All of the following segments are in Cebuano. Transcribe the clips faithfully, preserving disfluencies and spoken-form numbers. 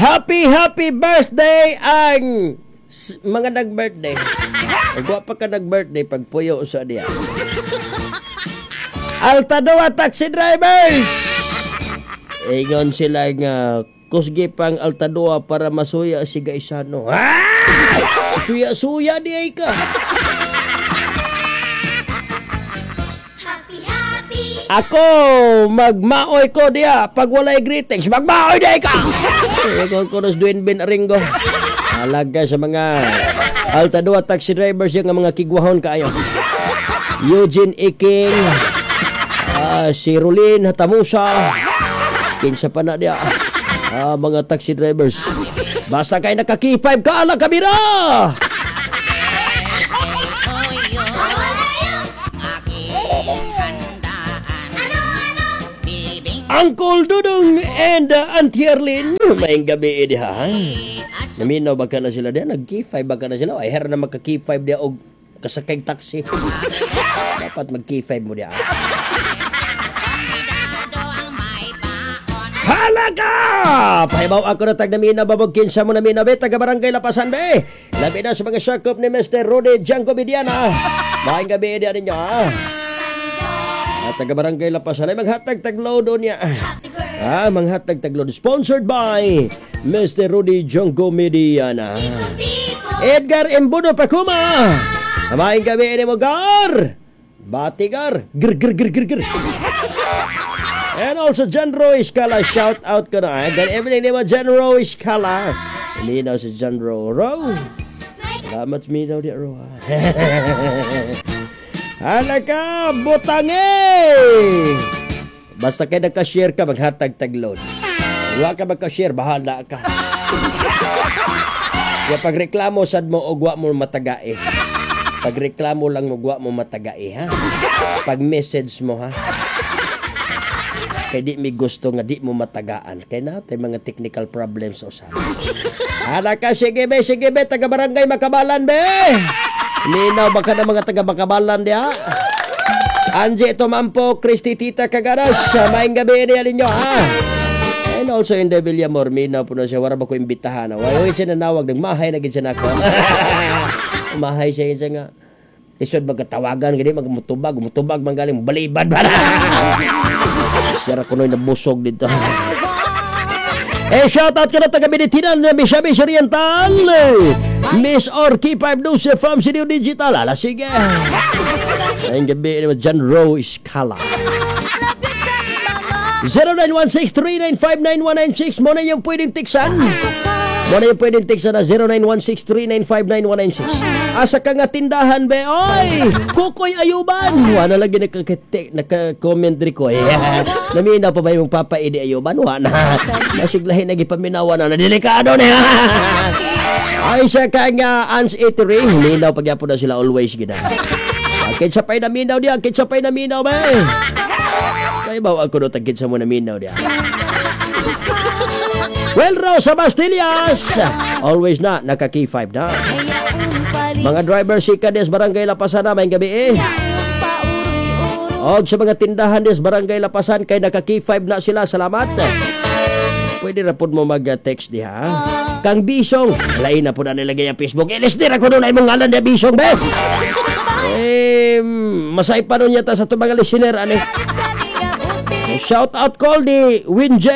Happy, happy birthday ang s- mga nag-birthday. Ug wa pa ka nag-birthday, pagpuyo sa diya. Altadoa taxi drivers! Ingon sila nga kusgi pang Altadoa para masuya si Gaisano. Ah! Suya-suya di ay ka. Happy, happy. Ako, magmaoy ko diya. Pag walay greetings, magmaoy di ay ka! Ingon ko nos Dwayne Ben Aringo. Halaga sa mga Altadoa taxi drivers yung mga kigwahon kaayo. Eugene Iking, ah, si Rolin Hatamusa, kinsa pa na diya. Ah, mga taxi drivers. Basta kay naka-K five ka, ala kabira! Uncle Dudong and uh, Auntie Arlene, maayong gabi eh, diha. Ha? Naminaw ba ka na sila diha? Nag-K five ba ka na sila? Ay, her na magka-K five diha og kasakay taxi. Dapat mag-K five mo diha. Halaga! Pahibaw ako na tag naminaw babog kinsa mo naminaw be, taga barangay Lapasan be. Labi na sa mga sakop ni Mister Rudy Django Mediana. Maayong gabi diha ninyo ha. At taga barangay Lapasan ay maghatag tagload doon niya. Ah, manghatag tagload. Sponsored by Mister Rudy Django Mediana. Edgar Embudo Pakuma. Maayong gabi ni mo gar. Bati gar. Gr gr gr gr gr. And also John Roy Escala, shout out ko na. Good evening ni mo John Roy Escala. Minaw si John Roy. Ro. Salamat minaw di Ro. Halaka, butangi! Basta kay nagka-share ka, maghatag tagload. Wa ka magka-share, bahala ka. Kaya pagreklamo sad mo og wa mo matagae. Pagreklamo lang mo wa mo matagae ha. Pag message mo ha. Kay di mi gusto nga di mo matagaan. Kay natay mga technical problems usa. Halaka, sige be, sige be, taga barangay Makabalan be. Ninaw baka na mga taga Makabalan diha. Angie Tumampo, Christy Tita Kagaras, maayong gabi niya ninyo ha. And also in the Villamor, minaw po na siya, wala ba ko imbitahan. Wala siya nanawag, nagmahay na gid siya nako. Mahay siya siya nga. Lisod magkatawagan, gani, magmutubag, mutubag man galing, balibad ba na? Siya ra kunoy nabusog dito. Eh, shout out ka na taga Binitinan na Misamis Oriental. Miss Orky five Dose from C D O Digital. Ala, sige. Ang gabi ni John Rowe Escala. zero nine one six, three nine five, nine one nine six. Mo na yung pwedeng tiksan. Mo na yung pwedeng tiksan na zero nine one six, three nine five, nine one nine six. Asa ka nga tindahan, be? Oy! Kukoy Ayuban! Wala lagi nagka-, nagka-comment rin ko. Eh. Naminaw pa ba yung Papa Edi Ayuban? Wala. Masiglahin na gipaminawa na. Nadelikado niya! Ay, siya ka nga Ans Eatery. Minaw pagyapon na sila always gina. Kinsa pa'y naminaw diya? Kinsa pa'y naminaw, be? Kaya ba ako no tagkit sa mo naminaw diya? Well, Rosa Bastillas! Always na, naka-K five na. Mga driver si Kades Barangay Lapasan na, may gabi eh. Og sa mga tindahan des Barangay Lapasan, kay naka-K five na sila, salamat. Pwede na po mo mag-text diha. Kang Bisong, lain na po na nilagay ang Facebook. Ilis din ako doon ay mong ngalan niya Bisong, be! Eh, masay pa nun yata sa itong mga listener, ani. Shout out call ni Win J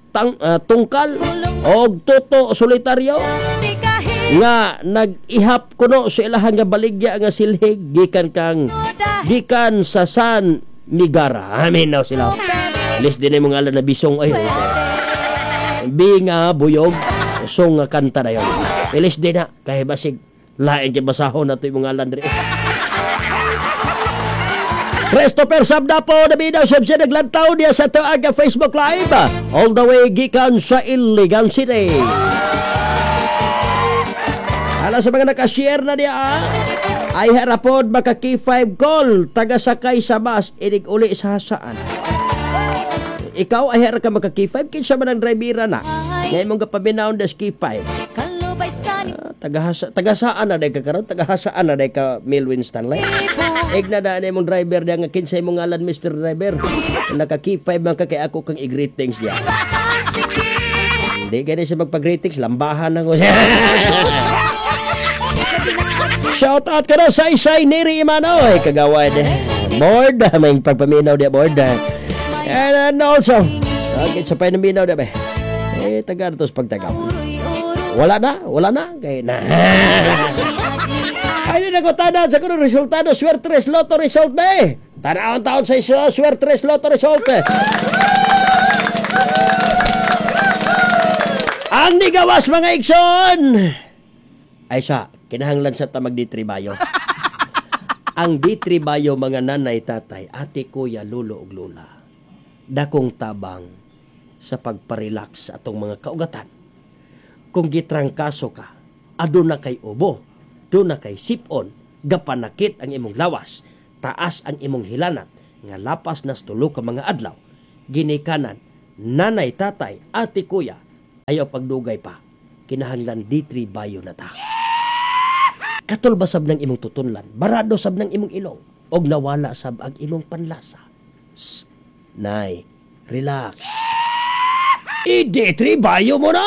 Tang, uh, Tungkal og Toto Solitario nga nag-ihap kuno sa ilahang nga baligya nga silhig gikan kang gikan sa San Migara. Amin na sila. List din imong ngalan na Bisong ay. Bi nga buyog song nga kanta na yon. Ilis din na kay basig lain kay basahon nato imong ngalan diri. Christopher Sabdapo, nabinaw siya siya naglantaw niya sa tuag Facebook Live. All the way gikan sa Iligan City. Hala sa mga nakashare na niya, ah. Ay harapod maka K five call, taga-sakay sa bus, inig uli sa hasaan. Ikaw ay harap ka maka K five, kinsa man ang drivera na. Ngayon mong kapaminaon des K five. Ah, tagahasa, tagasaan na day ka karon, tagahasaan na day ka Melwin Stanley. Igna na na imong driver diya nga kinsay imong ngalan Mister Driver. Naka K five man ka kay ako kang i-greetings diya. Hindi gani siya magpag-greetings, lambahan ako siya. Shout out ka na sa Isay Neri Imanoy, kagawad. Board, may pagpaminaw di board. And, and also, okay, sa panaminaw di ba? Eh, taga na to sa pagtagaw. Wala na, wala na. Kay na. Ay, na ko tanan sa kuno resultado, Swertres Lotto result ba eh. Tanawon taon sa iso, Swertres Lotto result. Ang nigawas mga igsoon. Ay sa, kinahanglan sa tamag D three Bio. Ang D three Bio mga nanay, tatay, ate, kuya, lolo ug lola. Dakong tabang sa pagparelax sa atong mga kaugatan. Kung gitrangkaso ka, aduna kay ubo, duna kay sipon, gapanakit ang imong lawas, taas ang imong hilanat, nga lapas nas tulo ka mga adlaw, ginikanan, nanay, tatay, ate, kuya, ayaw pagdugay pa, kinahanglan D three Bio na ta. Katulba sab ng imong tutunlan, barado sab ng imong ilong, og nawala sab ang imong panlasa. Sst, nay, relax. I-D three Bio mo na!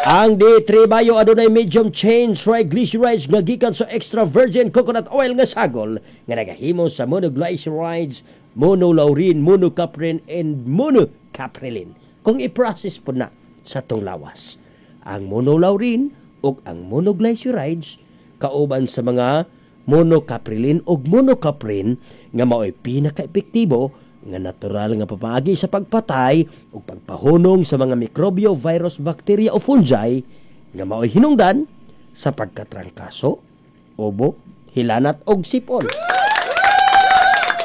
Ang D three Bio adunay medium chain triglycerides nga gikan sa extra virgin coconut oil nga sagol nga nagahimo sa monoglycerides, monolaurin, monocaprin, and monocaprilin. Kung i-process po na sa tong lawas. Ang monolaurin ug ang monoglycerides kauban sa mga monocaprilin ug monocaprin nga mao'y pinaka-epektibo nga natural nga pamaagi sa pagpatay ug pagpahunong sa mga mikrobyo, virus, bakterya o fungi nga mao'y hinungdan sa pagkatrangkaso, ubo, hilanat og sipon.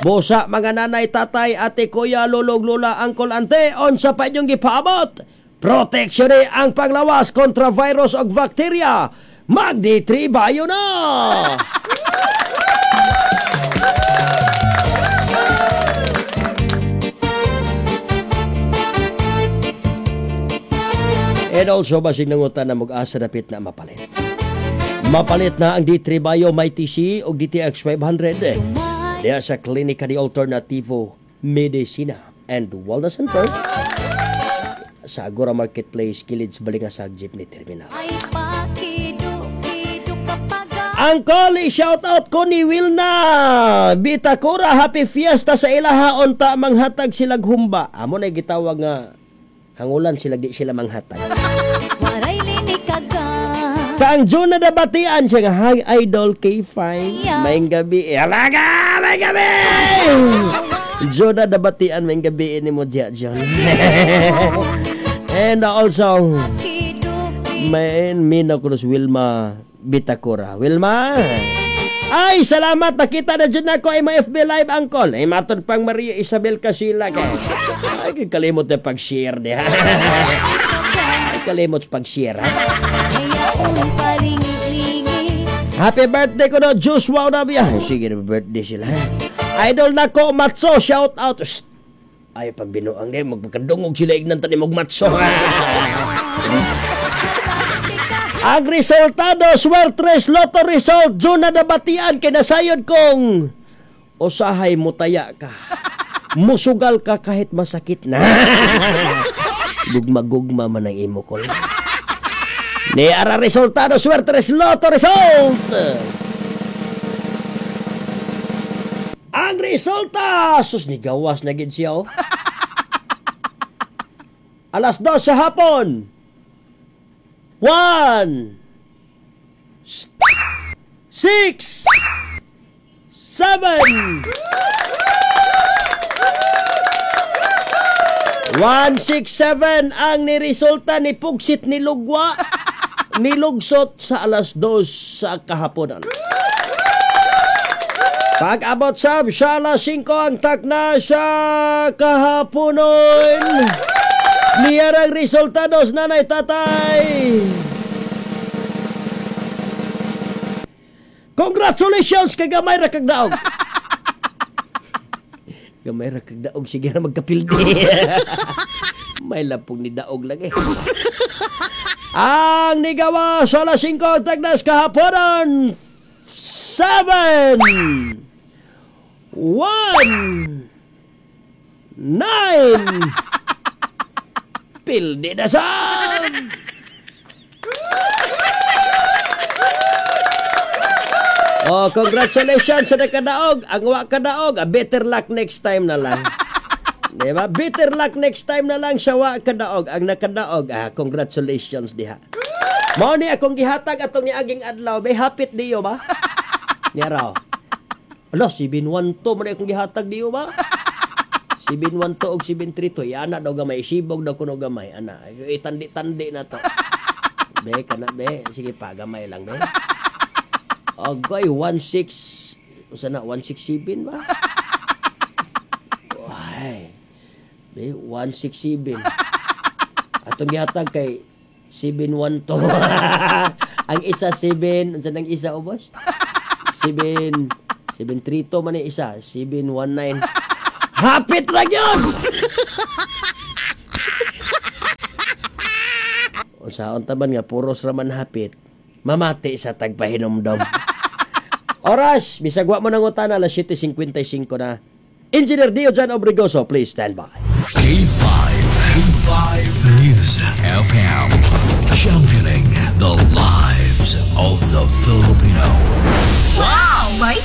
Busa mga nanay, tatay, ate, kuya, lolo, lola, angkol, ante, unsa pa inyong gipaabot? Proteksyon ni ang panglawas kontra virus og bakterya. Mag-D three Bio na! And also, basig nangutan na mag-asa dapit na mapalit. Mapalit na ang D three Bio Mighty C o D T X five hundred. Diya sa Klinika di Alternativo Medicina and Wellness Center sa Agora Marketplace, Kilid sa Balingasag Jeepney Terminal. Angkol, shout out ko ni Wilna Bitakura, happy fiesta sa ilaha, unta manghatag silag humba. Amo na gitawag nga hangulan sila, di sila manghatag. Kang June na nabatian siya nga, hi Idol K five, maing gabi. Alaga, maing gabi! June na nabatian, maing gabi ni mo diya, John. And also, may Mina Cruz Wilma Bitakura. Wilma! Ay, salamat! Nakita na dyan ako ay ma-F B Live, Uncle. Ay, matod pang Maria Isabel Casilla. Ay, kalimot na pag-share niya. Ay, kalimot pag-share, ha? Happy birthday ko no, Joshua Onabia. Sige na, birthday sila. Idol na ko, Matso, shout out. Shh. Ay, pag binuang din, magpagkadungog sila ignan tanim og matso. Ang resultado, Swertres Lotto result, June na nabatian, kinasayod kong usahay mutaya ka. Musugal ka kahit masakit na. Gugma-gugma man ang imo ko. Ni ara resultado, Swertres Lotto result. Ang resulta, sus ni gawas na gid siya oh. Alas dos sa hapon. One, six, seven, one, six, seven ang niresulta ni Pugsit ni Lugwa nilugsot sa alas dos sa kahaponan. Pag-abot sab sa alas singko ang takna sa kahaponon. Niyarang resultados, nanay, tatay. Congratulations kay gamay ra kag daog. Gamay ra kag daog, sige ra magkapildi. May lapong ni daog lagi. Ang nigawa sa alas singko ang tagnas kahaponan. Seven, one, nine, Pildi na sab! Oh, congratulations sa nakadaog. Ang wa kadaog, ah, better luck next time na lang. Di ba? Better luck next time na lang sa wa kadaog. Ang nakadaog, ah, congratulations diha. Mao ni akong gihatag atong niaging adlaw. May hapit diyo ba? Niya raw. Ala, seven one two man ni akong gihatag diyo ba? seven one two og seven three two. Yana daw gamay. Sibog daw kuno gamay. Ana, itandi-tandi na to. Be, kana be. Sige pa, gamay lang be. Agay, one six, usa na, one six seven ba? Ay. Be, one six seven. Atong gihatag kay seven one two. Ang isa seven, unsa nang isa ubos? seven seven three two man ang isa, seven one nine. Hapit ra gyud. Unsaon ta man nga puros ra man hapit. Mamati sa tagpahinumdom. Oras, bisag wa mo nangutana, alas siyete singkwenta y singko na. Engineer Dio John Obrigoso, please stand by. K five, K five News F M, championing the lives of the Filipino. Wow! May